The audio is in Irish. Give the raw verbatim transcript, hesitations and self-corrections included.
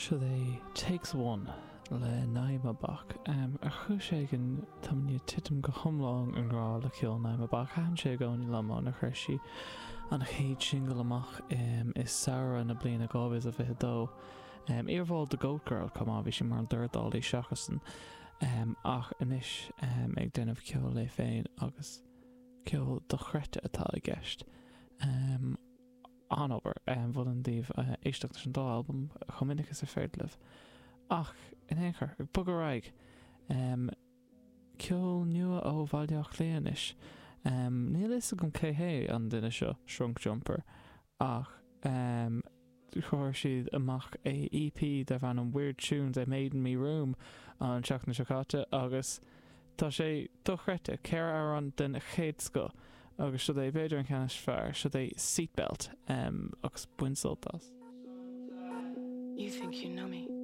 Seo é Takes One le Naima Bock. Ar chúis éigin táim i ndiaidh titim go hiomlán i ngrá le ceol Naima Bock. Thaitin sé i gcónaí liom ónar chuir sí an chéad singil amach i samhradh na bliana dhá mhíle is a fiche dó. Iarbhall de Goat Girl chomh maith, bhí sí mar an dornálaí seachas ach anois ag déanamh ceoil léi féin agus ceol dochreidte atá i gceist. An-obair. Mholfainn daoibh éisteacht leis an dá albam chomh minic is is féidir libh. Ach in aon chor, ag bogadh ar aghaidh. Ceol nua ó Bhaile Átha Cliath anois. Níl a fhios agam cé hé an duine seo, Shrunk Jumper, ach chuir siad amach EP darb ainm Weird Tunes I Made in Me Room an tseachtain seo caite agus tá sé dochreidte, ceithre amhrán den chéad scoth agus seo é b'fhéidir an ceann is fearr, seo é Seatbelt agus bain sult as. You think you know me.